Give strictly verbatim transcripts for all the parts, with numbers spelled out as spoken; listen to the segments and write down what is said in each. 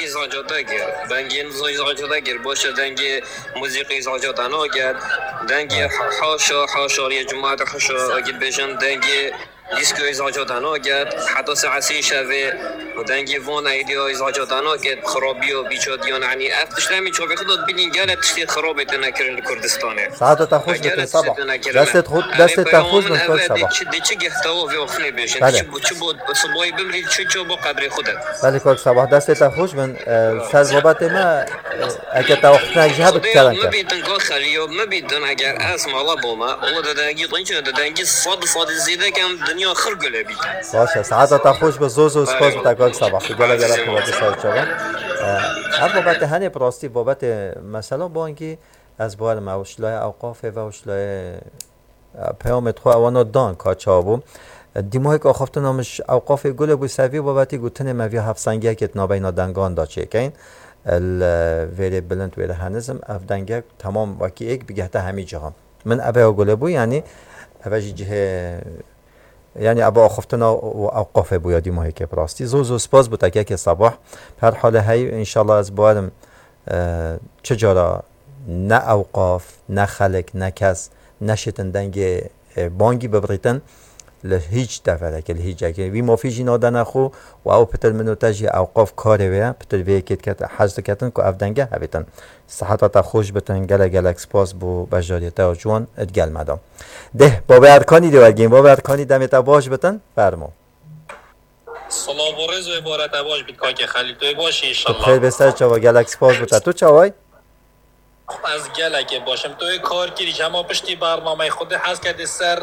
Îzaca te kir. Dengê îzaca te kir. Boşe dengê muzîkê îzaca te naket. Dengê haşa, haşariyê cemaat haşa, wekî bêjin dengê dîsko îzaca te naket. Heta saet sê şevê û dengê van êdî îzaca te naket. Xirabiya bîçadiyan, yanî ev tişt em ê çavê xwe de dibînin, gelek tiştê xirabê têne kirin li Kurdistanê. Saeta te xweş be, Kak Sabah. Destê xwe, destê te xweş bin, Kak Sabah. Çi, de çi geh tewa vê axiftinê bêjin. Belê. Çi bo, çi bo sibayî bimrî, çi ço bo qebrê xwe de. Belê, Kak Sabah, destê te xweş bin. E, ser babetê me, e, eke te axiftinek ji hebit kerem ke. Me bîtin, Kak Xelî, ya me bîtin, eger ez mala boma, o de dengî, de dengî sed, sed zêde kem dinya xir gule bîtin. Baş e, saeta te xweş be, zor zor spas bi te, Kak Sabah. Tu gele gele xwe ser çava. E, ev babetê henê bi rastî babetê mesela bangî, ez bawerim ew ji layê ewqafê ve û ji layê, e, peyamê xwe ewana dan ka çawa bû. E, dîmahek axaftina min ji ewqafê gule bû, ser vî babetî gotinê me vî hevsengiyekê di navbeyna dengan de çêkeyn. E, li vêrê bilind, wêrê henizim, ev dengek temam wekî êk bigehte hemî cihan. Min eve ya gule bû, yanî eve jî cihê, yanî eve axaftina û ewqafê bû ya dîmahekê bi rastî. Zor zor spas bû te, Kak Sabah. Her halê hey, înşallah ez bawerim, e, çi cara ne ewqaf, ne xelk, ne kes neşêtin dengê, e, bangî bibirîtin li hîç deverekê, li hîç cihekê. Wî mafî jî nadene xwe û ew pitir min û te jî ewqaf karê wê ye, pitir vê yekê dikete, hez diketin ku ev denge hebîtin. Siheta te xweş bitin, gelek gelek spas bo beşdariyê te ya ciwan di gel me de. Deh, Babê Erkanî dê wergên, Babê Erkanî demê te baş bitin, fermo. Silav û rêz û êvara te baş bît, Kakê Xelîl. Tu yê baş î, înşallah. Tu bi xêr bê ser çava, gelek spas bi te. Tu çaway? Ez gelekê baş im. Tu yê kar kirî, ji hema piştî bernameyê xwe dê hez kedê ser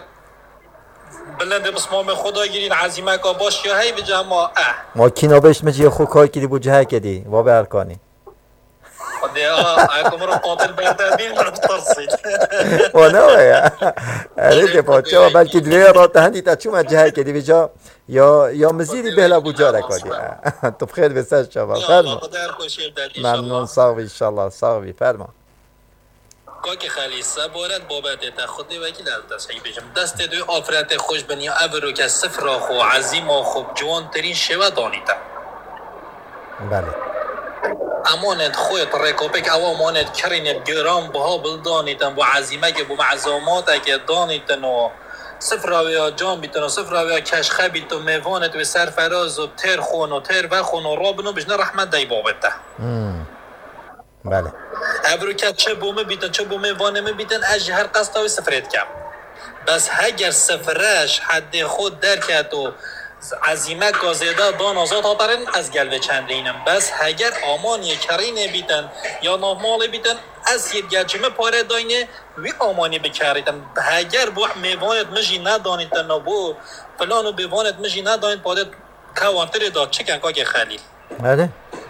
bilindê pismamê xwe dagirîn, ezîmeka baş ya hey bi cema, eh. Ma kîna beş min jî xwe kar kirî bû cihekê dî, Babê Erkanî. Xwedê, a, a, ku min re qatil berde bîn, min re bitirsît. O ne o ya? Erê, dê pa, çawa belkî divê ya rate hendî te çûma cihekê dî vêca ya, ya mizîrî bêhla bû carek wa dî. Tu bi xêr bê ser çava, fermo. Memnun, sağ ol, inşallah, sağ ol, fermo. Kakê Xelî, seboret babetê te, Xwedê wekîl ez dest heyî bêjim. Destê dê afretê xweş bin ya evro ke sifra xwe, ezîma xwe bi ciwantirîn şêwe danî te. Belê. Emanêt xwe, rêkopêk ew emanêt kirînê bi giran biha bildanîtin, bo ezîmekê, bo mezemateke danîtin û sifra wê ya can bîtin û sifra wê ya keşxe bît û mêvanêt wê serferaz û têr xwin û têr vexwin û rabin û bijne rehmet dey babê te. Hmm. Belê. Evroke çi bo min bîtin, çi bo mêvanê min bîtin, ez jî her qesta wê sifrê dikem. Bes heger sifre ji hedê xwe derket û ezîmeka zêde dana zat hatarên, ez gel vê çendîn im. Bes heger amaniyê kerînê bîtin ya navmalê bîtin, ez yê gel ji min pare dayne wî amanî bikerîtin. Heger bo mêvanêt min jî nedanîtin û bo filan û bêvanêt min jî nedanît, padê kewantirê da çiken, Kakê Xelîl. Erê,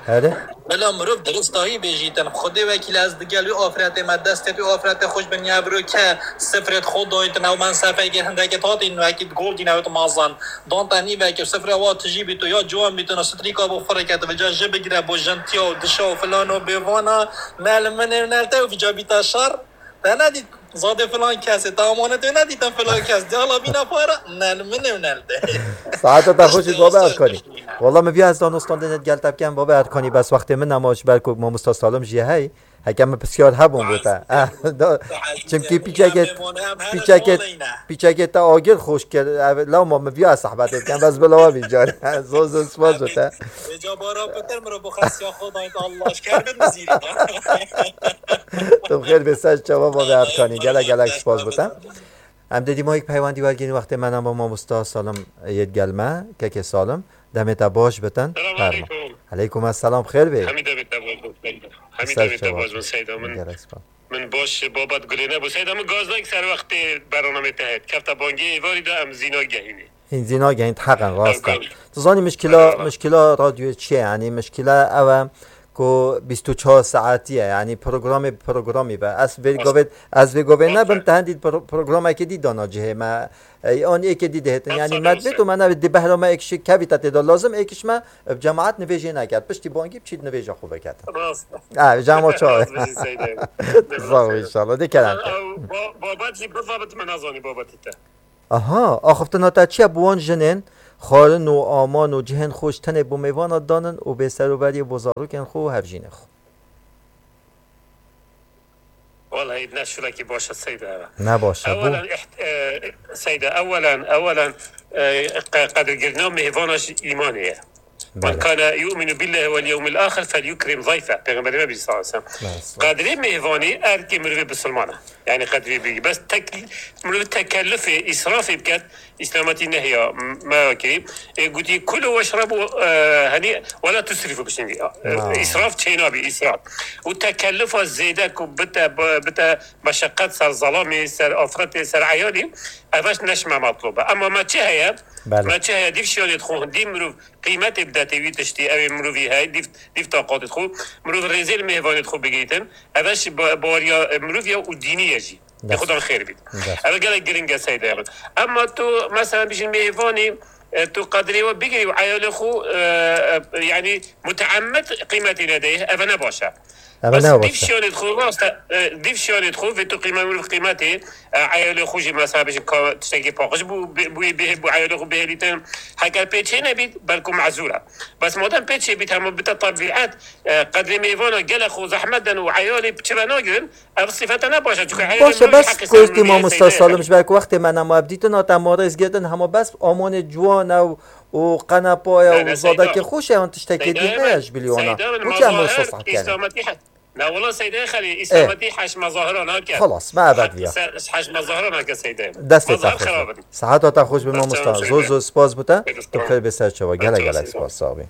erê. Bila mirov diristahî bêjîtin, Xwedê wekîl ez digel wî afretê me, destê wî afretê xweş bin ya evroke sifrêt xwe dayîtin, ew mensefekê hindekê hatîn wekî goldîn ew mazan. Dan te nîvekê sifre wa tijî bît û ya ciwan bîtin û strîka bo xwe rêket, vêca ji bigire bo jintiya û dişa û filan û bêvana, ne li min ê û ne li te û vêca bîta şer. Te nedît zadê filan kesê, te amanetê nedîtin filan kes. Diyala bîna para, ne li min ê û ne li te. Saeta te xweş bît, Babê Erkanî. Walla min viya ez danûstan dê gel te bikem, Babê Erkanî, bes wextê min nema, ji ber ku mamosta Salim jî hey. Heke min pisyar hebûn bo te. Eh, da, çimkî pîçekê, pîçekê, pîçekê te agir xweş kir. Ev, lewma min viya sehbetê bikem, bes bila we bî car. Zor zor spas bo te. Vêca bara pitir min re bo xesiya xwe dayît, Allah ji kerdin mizîrî da. Tu bi xêr bê ser çava, Babê Erkanî. Gelek gelek spas bo te. Em dê dîmayîk peywendî wergîn, wextê me nema, mamosta Salim yê digel me, kekê Salim. Demê te baş bitin. Selam aleykum. Aleykum esselam, xêr bê. Hemî demê te baş bin. Hemî demê te baş bin, Seyda. Min, min baş babet gurê nebû. Seyda, min gaz dayik ser wextê bernamê te hêt. Kefta bangê êvarî de em zîna gehînê. Hîn zîna gehîn, heqen, rast e. Tu zanî mişkila, mişkila radyoyê çi ye? Yanî mişkila ew e ku bîst û çar saetî ye. Yanî programê bi programî be. Ez vê govê, ez vê govê nebim, te hendî pro-, programekê dî dana cihê me. Ey, an êkê dî dihêtin. Yanî me dibêt û me nebêt, di behra me êkiş kevî te tê de lazim, êkiş me bi cemaet nivêjê neket. Piştî bangî biçît nivêja xwe veket. Rast. Ha, cema çawa. Rast bijî Seyda. Sağ ol, inşallah. Dê kerem. Ba-, babet jî biva bit, me nazanî babetî te. Aha, axiftina te çi ye bi wan jinên? Xwarin û aman û cihên xwe ji tenê bo mêvana danin û bêserûberiyê bo zarokên xwe û hevjînê xwe. Wallahî ne şûlekî baş e Seyda. Ne baş e, bû. Ewelen, iht- e, Seyda, ewelen, ewelen e, qe- qedirgirina mêvana ji îmanê ye. Men Belê. kana yu'minu billahi vel yewmil axir fel yukrim zayfe. Pêxemberê me bî sallallahu aleyhi ve sellem. Mesela. Qadrê mêvanî erkê mirovê bisilman e. Yani qadrê bî. Bes tek, mirov tekellufê, îsrafê biket, îslametî nehiya me kirî. E, gotî kulu weşrebu, e, hani, wela tusrifu bişin. E, Ha. Îsraf çênabî, îsraf. Û tekellufa zêde ku bite, bite meşeqet ser zelamê, ser afretê, ser eyalî, ev eş neşme matlob e. Ama me çi heye? Belê. Me çi heye? Dîv şiyanê xwe, dîv mirov qîmetê bidetê wî tiştî, ew ê mirovî heye, dîv, dîv taqatê xwe. Mirov rêzê li mêvanê xwe bigirîtin. Ev eş ba- baweriya, e, mirov ya û dînî ye jî. Dest. Xudan xêr bît. Dest. Ev gelek giring e Seyda. Ama tu mesela bijin mêvanî, e, tu qedrê we bigirî û eyalê xwe, e, e, yani muteemmed qîmetî nedeyê, ev ne baş e. Ev Bes ne dîv baş e. şiyanê xwe rast e, e, dîv şiyanê xwe vê tu qîme mirov qîmetê, e, eyalê xwe jî mesela bijin ka tiştekî paqij bû, bû, bû, bû eyalê xwe bihêlîtin. Heger pê çê nebît, belku mezûr e. Bes madem pê çê bît, hema bite tebîet, e, qedrê mêvana gelek xwe zehmet den û eyalê çi ve nagirin, ev sifete ne baş e. Çünkü eyalê Baş e, mirov bes heqê ser gotî miriyê mamosta Seyda. Salim, ji ber ku wextê me nema, ev dîtin hate, em rêz girtin, hema bes amanê ciwan e û, û qenepa ye Ne, û ne, zadekê Seyda. xweş e, yan tiştekê Seyda dî min, heye ji bilî wana. Seyda min, Boçi em wê mazahir, sosaq kene? Îslametî he-, ne wela Seyda Xelî, Îslametî heş mazahira nake. Xelas, me ev diya. Heş mazahira nake Seyda. Destê te Mazahir xweş xerab be. in. Seheta te xweş be mamosta. Sağ ol, Zor zor spas bo te. Seyda. Tu xêr bê ser çawa. Gelek Sağ ol, gelek Seyda. spas. Sax bî.